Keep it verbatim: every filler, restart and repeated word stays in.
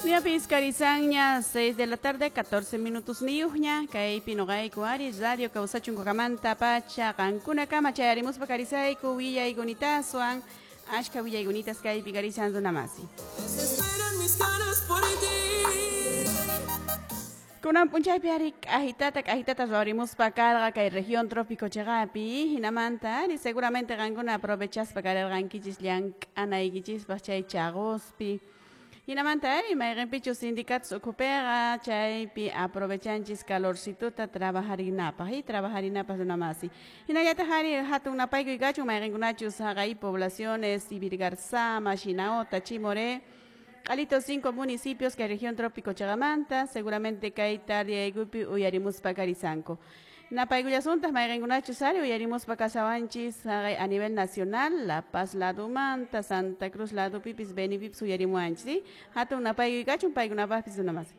Ñapis karisanña seis de la tarde, catorce minutos niyuqña, kaypi nuqayku ari Radio Kawsachun Kukamanta pacha qankunakama chayarimuspa karisayku willaykunitaaswan ashka willaykunitas kaypi karisan runamasi. Desesperan mis ganas por ti. Kunan p'unchaypi ari k'ajitata k'ajitata ruwarimuspa karqa kay región trópico chiqapi hinamanta ari seguramente qankuna aprovechaspa karirqankichis llank'anaykichispaq chay chaquspi. Hinamanta ari mayqinpichus sindicatos ukhupiqa chaypi aprovechanchis calorcituta trabajarinapaq y trabajarinapaq runamasi. Hinallataq ari hatun napaykuy kachun mayqinkunachus haqay poblaciones Ivirgarzama, Shinaota, Chimoré, Q'alito cinco municipios que región trópico chiqamanta seguramente kay tardiaykupi uyarimuspa karisanku. Napaykullasuntaj mayqinkunachus ari uyarimuspa kashawanchis haqay a nivel nacional, La Paz ladumanta, Santa Cruz ladupipis, Benipipis uyarimuwanchis, ¿sí? Hatun napaykuy kachun paykunapaqpis runamasi.